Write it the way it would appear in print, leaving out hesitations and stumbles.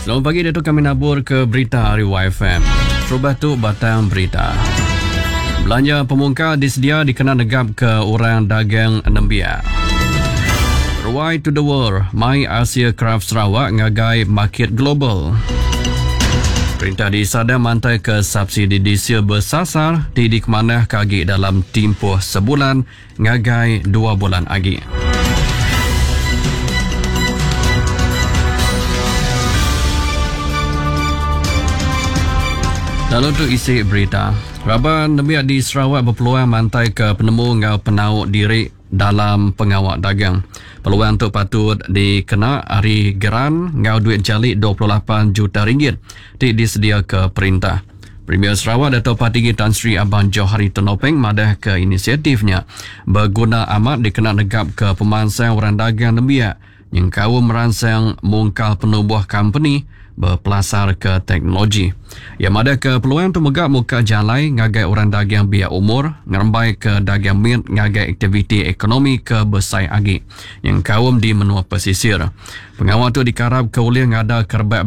Selamat pagi diatu kami nabur ke berita ari YFM. Terubah tu batang berita. Belanja pemungkal disedia dikena negap ke orang dagang nembiak. Ruai to the world mai Asia Craft Sarawak ngagai market global. Perintah di Sadang mantai ke subsidi diesel bersasar ti dikemanah ke agi dalam timpuh sebulan ngagai 2 bulan agi. Lalu tu isi berita. Raban nembiak di Sarawak berpeluang mantai ke penemu enggau penau diri dalam pengawa dagang. Peluang tu patut dikena ari geran enggau duit jali 28 juta ringgit ti disedia ke perintah. Premier Sarawak Dato' Patinggi Tan Sri Abang Johari Tun Openg madah ke inisiatifnya berguna amat dikena negap ke pemansang orang dagang nembiak nyengkaum meransang mungkal penumbuh company bepelasar ke teknologi. Ia madah ke peluang tu mega muka jalai ngagai orang dagang biak umur ngerembai ke dagang mit ngagai aktiviti ekonomi ke besai agi nyengkaum di menua pesisir. Pengawa tu dikarap ke ulih ngada kerebak.